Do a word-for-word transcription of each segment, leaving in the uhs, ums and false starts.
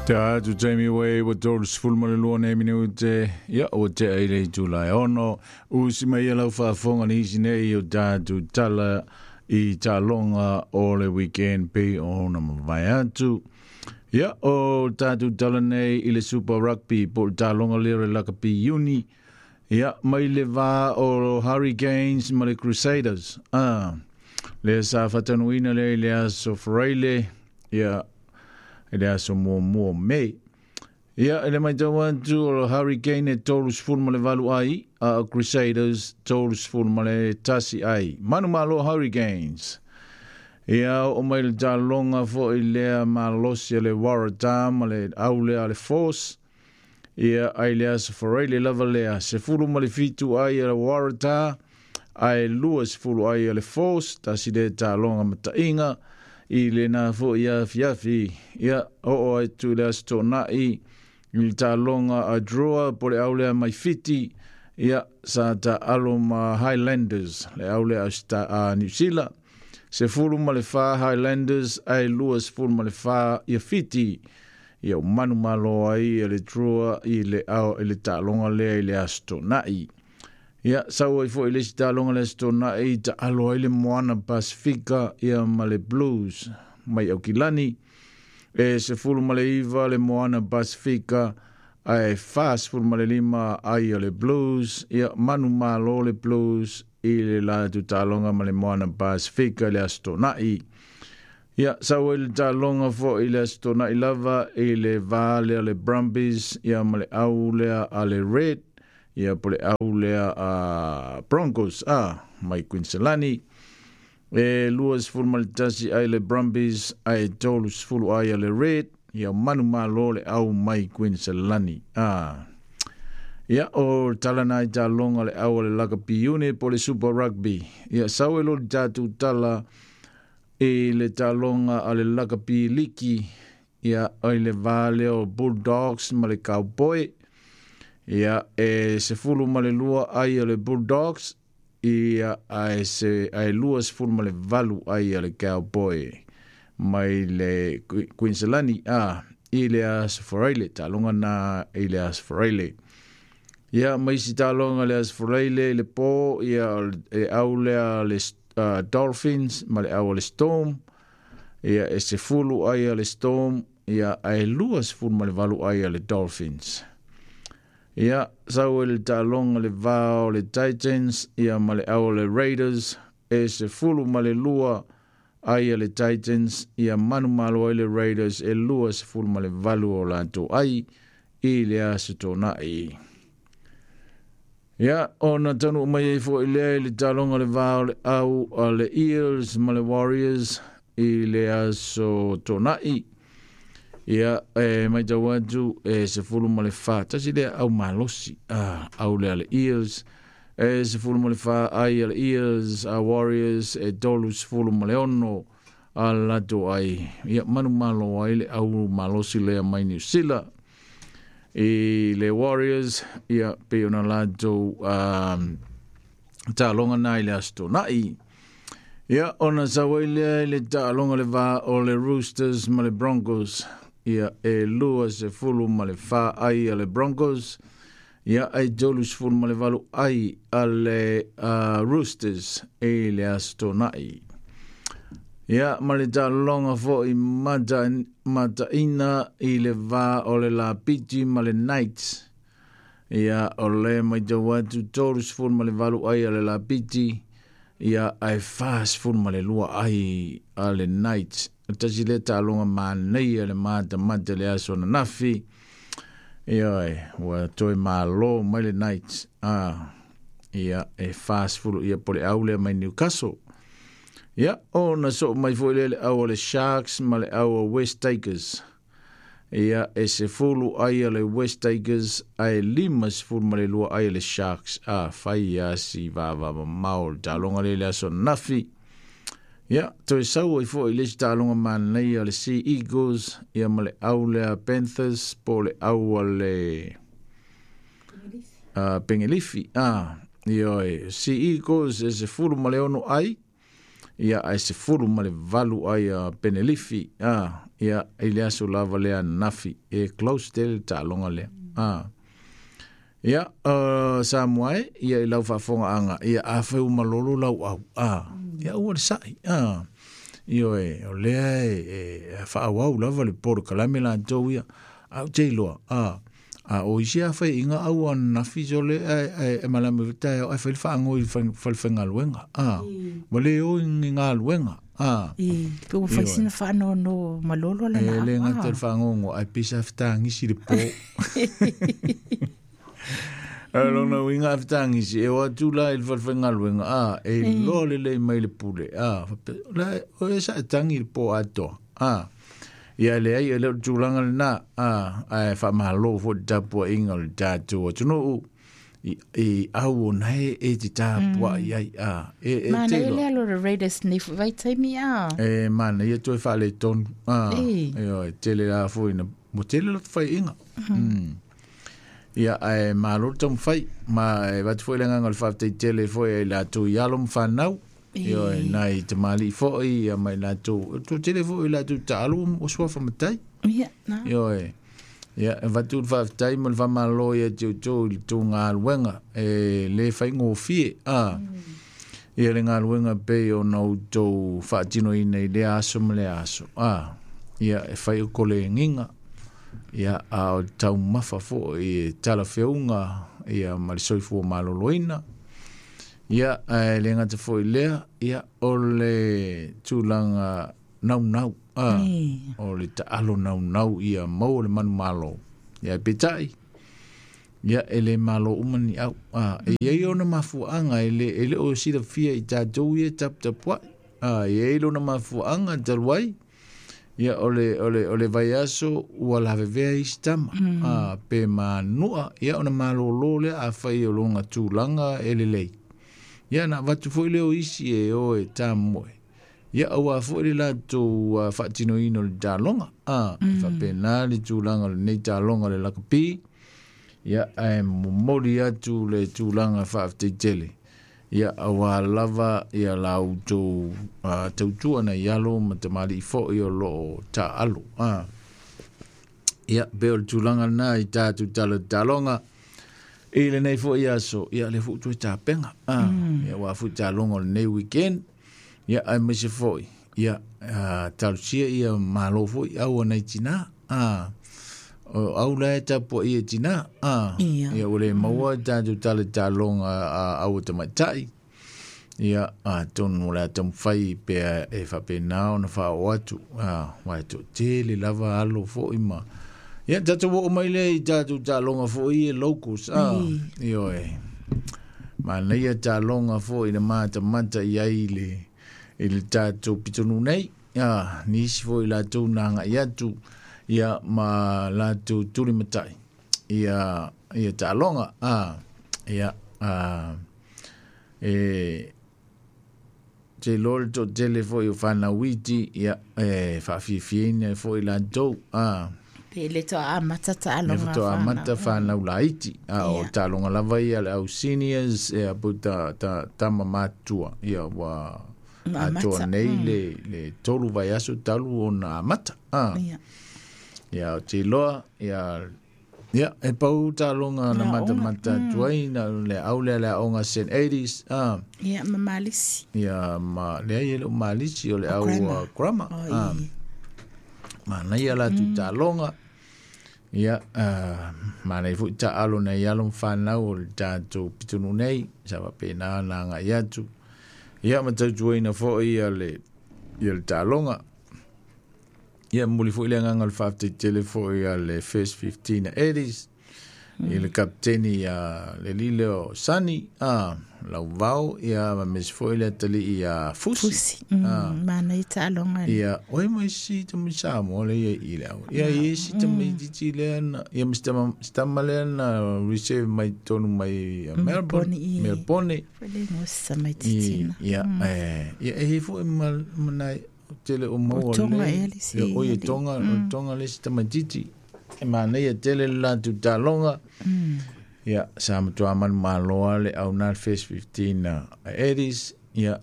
Tatou taimi ua iwa tolu sefulu ma le lua nei minute, ia ua tea i le itula e ono. Usi mai e lau faafofoga nisi nei o tatou tala i taaloga o le weekend pei ona mavae atu. Ia, o tatou tala nei i le Super Rugby po o le taaloga lea o le Lakapi Iuni. Ia, mai le va o Hurricanes ma le Crusaders. Ah, lea sa faataunuuina lea i le aso Faraile, ia, i le aso muamua o Mei. Ia, i le matau atu o le Hurricane e tolu sefulu ma le valu ai, a o Crusaders tolu sefulu ma le tasi ai. Manu malo Hurricanes. Ia, o mai le taaloga foi lea malosi a le Waratah ma le au lea a le Force. Ia, ai le aso Faraile lava lea, sefulu ma le fitu ai a le Waratah, ae lua sefulu ai a le Force, tasi lea taaloga mataiga i lena foi afiafi. Ia, oo atu i le aso Toonai i le taaloga a Drua po le au lea mai Fiti, ia, sa taalo ma Highlanders, le au lea a Niu Sila. Sefulu ma le fa Highlanders ae lua sefulu ma le fa ia Fiti. Ia ua manumalo ai le Drua i le ao i le taaloga lea i le aso Toonai. Ia, sau ai foi le isi taaloga le aso Toonai taalo ai le Moana Pasifika ia ma le Blues mai Aukilani. E sefulu ma le iva le Moana Pasifika ae fa sefulu ma le lima ai o le Blues. Ia, manumalo le Blues i le latou taaloga ma le Moana Pasifika i le aso Toonai. Ia, sau ai le taaloga foi i le aso Toonai lava i le va lea o le Brumbies ia ma le au lea a le Red, ia po le au lea a Broncos a mai Queensland. E lua sefulu ma le tasi ai le Brumbies ae tolu sefulu ai a le Red. Ia manumalo le au mai Queensland. Ah. Ia, o tala na i taaloga le au o le Lakapi Uni po le Super Rugby. Ia, sau e lo le tatou tala i le taaloga a le Lakapi Liki. Ia, i le va lea o Bulldogs ma le Cowboy. Ia, e sefulu ma le lua ai o le Bulldogs. Ia, ae se ae lua sefulu ma le valu ai a le Cowboy mai le Queensland a i le aso Faraile, taaloga na i le aso Faraile. Ia, ma isi taaloga le aso Faraile i le po, ia, e au lea le uh, Dolphins ma le au o le Storm. Ia, e sefulu ai a le Storm, ia, ae lua sefulu ma le valu ai a le Dolphins. Ia, sau e le taaloga le va o le Titans, ia, ma le au o le Raiders, e sefulu ma le lua ai a le Titans, ia manumalo ai le Raiders e lua sefulu ma le valu o latou ai i le aso Toonai. Ia, ona taunuu mai ai foi lea i le taaloga le va o le au a le Eels ma le Warriors i le aso Toonai. Ia, e matau atu e sefulu ma le fa, tasi lea au malosi, ah, au lea le Eels, e sefulu ma le fa ai a le Eels, a Warriors e tolu sefulu ma le ono a latou ai. Ia, manumalo ai le au malosi lea mai Niu Sila i le Warriors, ia, pei ona latou um, taaloga na i le aso Toonai. Ia, ona sau ai lea i le taaloga le va o le Roosters ma le Broncos. Ia, e lua sefulu ma le fa ai a le Broncos. Ia, ai tolu sefulu ma le valu ai a le uh, Roosters i le aso Toonai. Ia, ma le taaloga foi mata, mataina i le va o le Lapiti ma le Knights. Ia, o le matau atu tolu sefulu ma le valu ai a le Lapiti. Ia, ae fa sefulu ma le lua ai a le Knights. Tasi le taaloga manaia le matamata le aso ananafi. Ia, e, ua toe malo mai le Knights. Ah, ia, e fa sefulu ia po le au lea mai Newcastle. Ia, ona soo mai foi lea le au o le Sharks ma le au o West Tigers. Ia, e sefulu ai a le West Tigers ae lima sefulu ma le lua ai a le Sharks. Ah, fai ia si vava mamao le taaloga lea le aso ananafi. Ia, toe sau ai foi le isi taaloga manaia le Sea Eagles, ia ma le au lea Panthers po le au a le uh, Pengelifi. Ah, ia, e, Sea Eagles e sefulu ma le ono ai. Ia ai sefulu ma le valu ai a penelifi. Ah, ia i le aso lava lea nafi. E close tele taaloga lea. Ah. Ia, uh, Samoa e, ia i lau faafofoga ia a fai uma lolo lau au. Ah, ia ua le sa'i. Ah. Io e, o lea e, e faaauau lava le polokalame latou ia. Au te iloa. Ah. A o isi a fai inga au a nafi so le e, e malama vita e fai le faagoi i falefaigaluega. Ah. Ua le o i galuega. Ah. I, pe ua fai sina faanono malolo lana E au. le gata Ah. le faagogo ai pisa fetagisi le po. Lona uiga a fetagisi e o atu la i le falefaigaluega a e iloa lelei mai le pule a faapea la o e saetagi le po atoa a ia leai e le o le tulaga lenā a ae faamālō foʻi le tapuaʻiga o le tatou atunuu i i au ona e e te tapuaʻi ai a e e Mana te e iloa le alo le Raiders nei foi vaitaimi a. e manaia toe faaletonu a E. e oi tele la foʻi na mo tele loto faiʻiga mm. Ia ae malo le taumafai ma e avatu foʻi le agaga o le faafetaitele foʻi ai latou i alo ma fanau ioe nai tamalii foʻi ia ma i latou tele foʻi i latou taalo o suafa matai Ia, na. ioe ia e avatu le faafetai ma le faamalo ia te outou i le tou galuega e lē faigofie a ia le galuega pei ona outou faatinoina i lea aso ma lea aso a ia e fai o kolegiga ia a o le taumafa foʻi e talafeuga ia ma le soifua malōlōina ia ae le gata foʻi lea ia o le tulaga naunau a E. o le taalo naunau ia maua le manumalo ia peitai ia e le malo uma ni au a e iai ona mafuaaga e le e le o silafia i tatou ia taputapuaʻi a e iai lona mafuaaga talu ai ia o le o le o le vaiaso ua lavevea isi tama a pe manua ia ona malōlō lea afai o lona tulaga e lelei ia na avatu foʻi lea o isi e o e tamoe ia auā foʻi le latou uh, faatinoina o le taloga a e faapena le tulaga o lenei taloga o le lakapi ia ae momoli atu le tulaga faafetaitele ia auā lava ia la outou uh, tautua nai alo ma tamalii foʻi o loo taaalo a ia pe o le tulaga lenā i tatou tala taloga i lenei foʻi aso ia le foʻi toe tapega a ia ua foʻi taloga o lenei weekend ia ae maise foʻi ia uh, talosia ia malo foʻi au anai tinā a o au la e tapuaʻi e tinā a Ia. ia ua le maua tatou tala taloga a au tamaitaʻi ia atonu o le a taumafai pea e faapena ona faaoo atu a ua e toatele lava alo foʻi ma ia tatou oo mai lea i tatou taaloga foʻi e locals a ioe manaia taaloga foʻi na matamata i ai le i le tatou pitonuu nei a nisi foʻi latou na agaʻi atu ia ma latou tulimataʻi ia ia taaloga a ia a e te iloa le toatele foʻi o fanauiti ia e faafiafiaina foʻi latou a Pe le toa amata le taaloga faatoa amata fanau laiti a o Ia. taaloga lava ia le au seniors ia po ta ta tama matua ia ua Amata, atoa nei le le tolu vaiaso talu ona amata a Ia. ia o te iloa ia ia e pau taaloga na Na matamata atu ai na le au lea le aoga Saint Eighties a Ia, ma malisi. ia ma leai e le o malisi o le au grammar. uh, grammar O, a i. manaia latou taaloga ia uh, manaia foʻi taalo nai alo ma fanau o le tatou pitonuu nei sa faapena ona agaʻi atu ia ma tautuaina foʻi ia le ia le taaloga ia momoli foʻi le agaga o le faafetaitele foʻi a le first fifteen eighties i le kapiteni ia le lile o Sani a Lauvao ia ma mesi foʻi le atalii ia Fusi Fusi. Mm, manaia taaloga. ia oi mai si tama Samoa le ia i le au ia i si tama itiiti lea na ia ma si tama si tama lea na reserve mai tonu mai uh, Melbourne Melbourne, i. Melbourne Foi le ngosa mai i titina. ia eh ia e foʻi ma ma nai tele o maua O Tonga le ea le isi ia o ia alii. Tonga o Tonga le si tamaitiiti e manaia tele le latou taloga ia sa matuā manumālō a le au na le first fifteen uh, eighties ia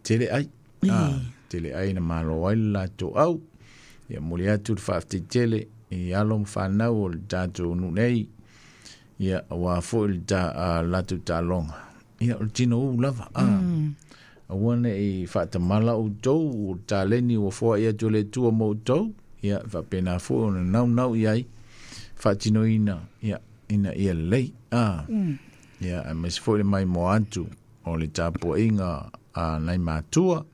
tele ai A tele ai na malo ai le latou au. Ia muli atu le faafetai tele i alo ma fanau o le tatou nuu nei. Ia auā foi le ta, a, latou taaloga. Ia o le tinou lava. A. Aua ne'i faatamala outou o le taleni ua foa'i atu e le Atua mo outou. Ia faapena foi ona naunau i ai faatinoina ia ina ia lelei. A. Ia aemaise foi le maimoa atu o le tapua'iga a nai matua.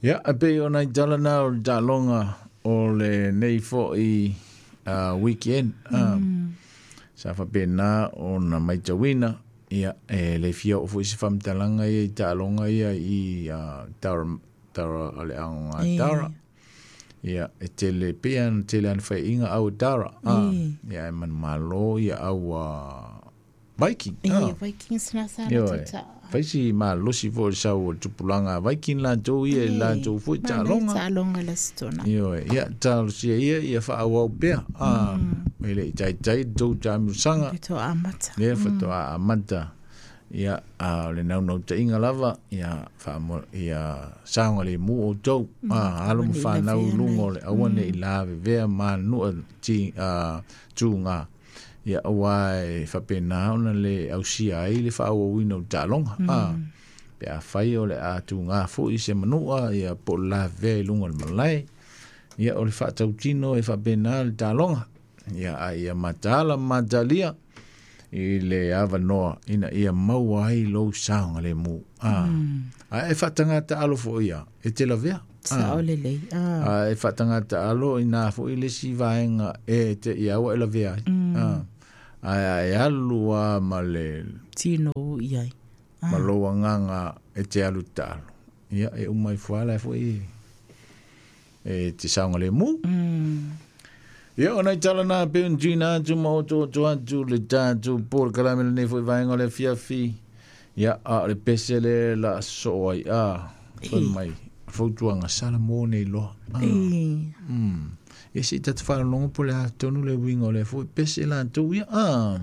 Ia e pei o nai tala na o le taaloga o lenei fo'i uh, weekend. Uh, sa faapena ona matauina. Ia e le fia oo foi se faamatalaga ia i taaloga ia i uh, tara, tara o le aoga tara. Ia e tele pea ona tele ana fai'iga au e tara. Ah, ia e manumalo ia au uh, Viking. Ah. Vikings na sa Ioe. Faisi malosi foi le sau o le tupulaga a Viking latou ia i latou foi taaloga. Taaloga le stona. Ioe, ia talosia ia ia faaauau pea. Ah, e le i taitai tou taamilosaga. To amata. Lea faatoa amata. Ia a o le naunautaiga lava ia faamo ia saogalemu outou. Ah, alo ma fanau i luga o le aua ne'i lavevea ma nua ti a tuga. Ia auā e faapena ona le ausia ai le faaauauina o le taaloga. Ah, pe afai o le a tugā foi se manua ia po o le lavevea i luga o le malae. Ia o le faatautino e faapena le taaloga. Ia a ia mataala ma matalia i le avanoa ina ia maua ai lou saogalemu. Ah, ae faatagata alo foi ia e te lavea. Sa o lelei. Ah. A e faatagata alo ina foi le isi vaega e te ia ua e lavea ai. Ah. Ae ae alu a ma le Tino i ai. ma lou agaga e te alu taalo. Ia e uma ifo lava foi e te saogalemu. Ia o nai tala na pe ona tuuina atu ma otooto atu le tatou polokalame lenei foi vaega o le afiafi. Ia a o le pese le la soo ai a fai mai fautuaga sala mo nei loa. Ah. Mm. Ia se i tata faalologo po o le a tonu le uiga o lea foi pese latou ia. Ah.